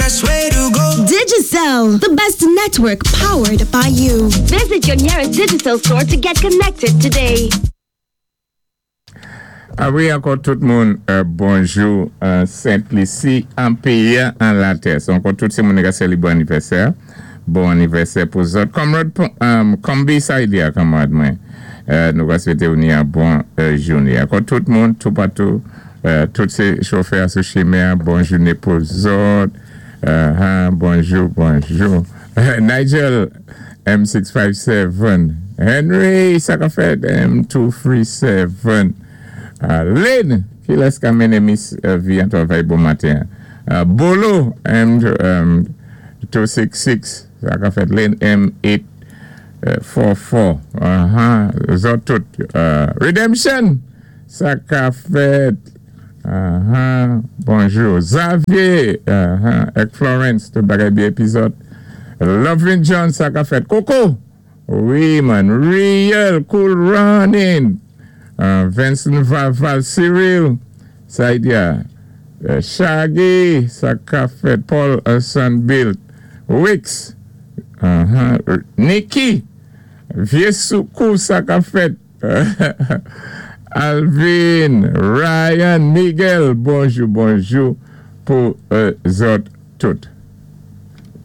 best way to go. Digicel, the best network powered by you. Visit your nearest Digicel store to get connected today. A wi, ankò tout moun, bonjou Sent Lisi, an péyi an latè. So ankò tout sé moun ka sélébwé anivèsè. Bon anivèsè pou zòt. Comrade Kombi sa i di a kanmarad mwen. Nou va swété ou ni an bon jouné. Ankò tout moun toupatou, tout sé chofè sou chimen, bon jouné pou zòt. Bonjou, bonjou. Nigel M657. Henry, sa ka fèt M237. Lynn, ki lès ka mennen Miss V an travay bon maten? Bolo M266. Sa ka fèt Lynn M844. Zòt tout. Redemption, sa ka fèt. Bonjou. Xavier, èk Florence, tout bagay byen épizòd. Lovin John, sa ka fèt. Coco, wi man, real cool running. Vincent Vaval, Cyril, sa i di a. Shaggy, sa ka fèt. Paul Sunbilt, Wix, Nikki, Vyé Soukou, sa ka fèt. Alvin, Ryan, Miguel, bonjou, bonjou pou zòt tout.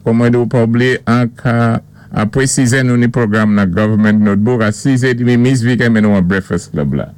Kòman ou pa oubliyé an ka apwé 6 nou ni pwogram nan Government Notebook a 6 édmi Miss V ka mennen ou an Breakfast Club la.